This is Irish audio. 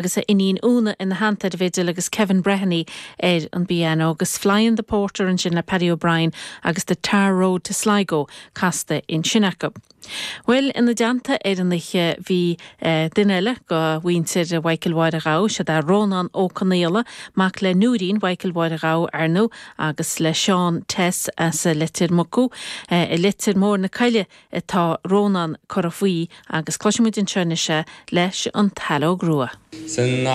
Agus a iníon Úna ina theannta ar an bhfidil agus Kevin Breheny ar an bpianó agus Flyin' the Porter ansin le Paddy O'Brien agus The Tar Road to Sligo casta ansin acu. Bhuel, ina dteannta ar an oíche bhí duine eile de mhuintir Mhichael Mháire Ghabha, siod é Rónán Ó Conaola, mac le Nóirín Mhichael Mháire Ghabha, ar ndóigh, agus le Seán Tess as Leitir Mucú. I Leitir Móir na Coille atá Rónán curtha faoi agus cloisfidh muid anseo anois é leis an tSaileog Rua. San.